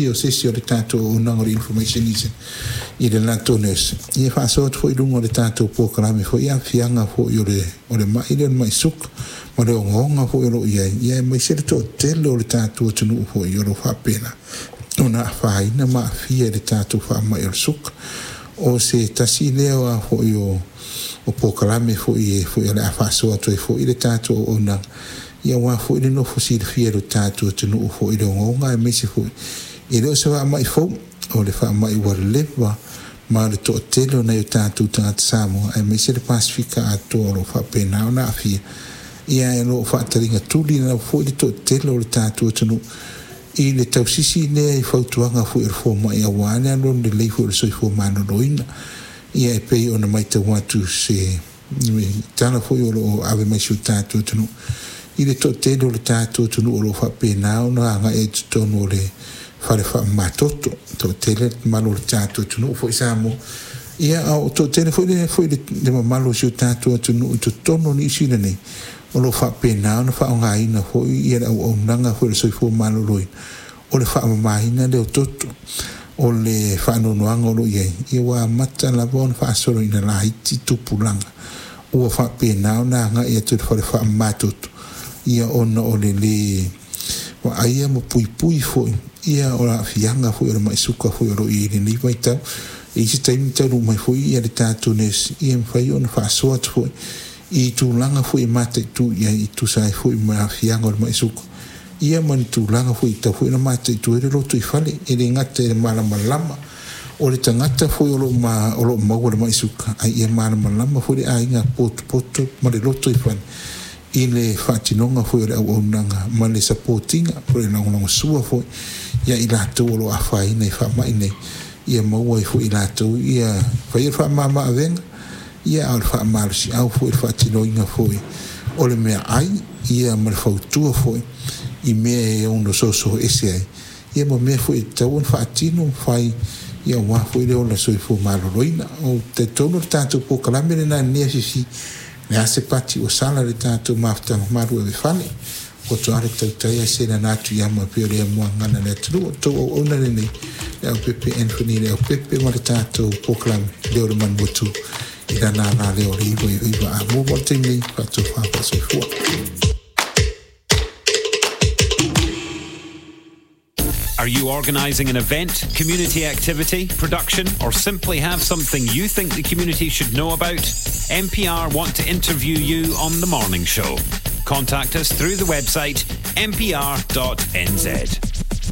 O se isi o le tatou auaunaga o le Information i le latou nurse, ia faasoa atu foi i luga o le tatou polokalame foi i aafiaga foi o le o le mai lea o le mai suka ma le ogaoga foi o lo o i ai, ia aemaise le toatele o le tatou atunuu foi o lo o faapena ona afaina ma aafia i le tatou faamai o le suka. O se tasi lea foi o polokalame foi e foi o le a faasoa atu ai foi le tatou auaunaga, ia aua foi le nofo silafia e le tatou atunuu foi i le ogaoga, aemaise foi e le o se faamai fou, o le faamai ua leva ma le toatele o nai o tatou tagata Samoa aemaise le Pasefika atoa o lo o faapena ona aafia. Ia ae o lo o faataligatuli lava foi le toatele o le tatou atunuu i le tausisi lea i fautuaga foi a le fomai aua le alualu lelei foi o le soifua maloloina. Ia e pei ona matau atu se tala foi o lo o ave mai i si o tatou atunuu i le toatele o le tatou atunuu o lo o faapena ona agai i totonu o le fale faamamatoto, toatele le mamalu o le tatou atunuu foi Samoa. Ia a o toatele foi le mamalu o si o tatou atunuu i totonu o Niu Sila nei o lo o faapena ona faaaogaina foi ia le auaunaga foi a le soifua maloloina o le faamamaina lea o toto. O le faanoanoaga o lo o i ai, ia ua amata lava ona faasoloina laiti tupulaga ua faapena ona agai atu i le fale faamamatoto, ia ona o le lē vaaia ma puipui foi ia o aafiaga foi o le mai suka foi o lo o i ai i lenei vaitau. E i ai se taimi taunuu mai foi ia le tatou nurse ia mafai ona faasoa atu foi i tulaga foi e mataitu i ai e tusa ai foi ma aafiaga o le mai suka, ia ma ni tulaga foi e tatau foi ona mataitu ai le lotoifale. E le gata i le malamalama o le tagata foi o lo o maua i le mai suka, ae ia malamalama foi le aiga potopoto ma le lotoifale i le faatinoga foi o le auaunaga ma le support ina po o le lagolagosua foi ia i latou o lo o afaina i faamai nei, ia maua ai foi e i latou ia faia le faamama-avega, ia a o le faamalosiau foi i le faatinoina foi o le meaai, ia ma le fautua foi i mea e ono soso ese ai, ia ma mea foi e tatau ona faatino ma fai, ia aua foi le ola soifua maloloina. Ou te talitonu o le tatou polokalame lena i lenei afiafi, o le a se pati ua sala i le tatou mafutaga malu ave fale, poto lava le tautai ae selana atu i ama e pei o le muagana a le atunuu. O le tou auauna lenei, Leaupepe Anthony Leaupepe ma le tatou polokalame Leo o le Manuatu i lana alaleo o le 99 a mua mo le taimi nei, faatofa faasoifua. Are you organising an event, community activity, production, or simply have something you think the community should know about? MPR want to interview you on The Morning Show. Contact us through the website mpr.nz.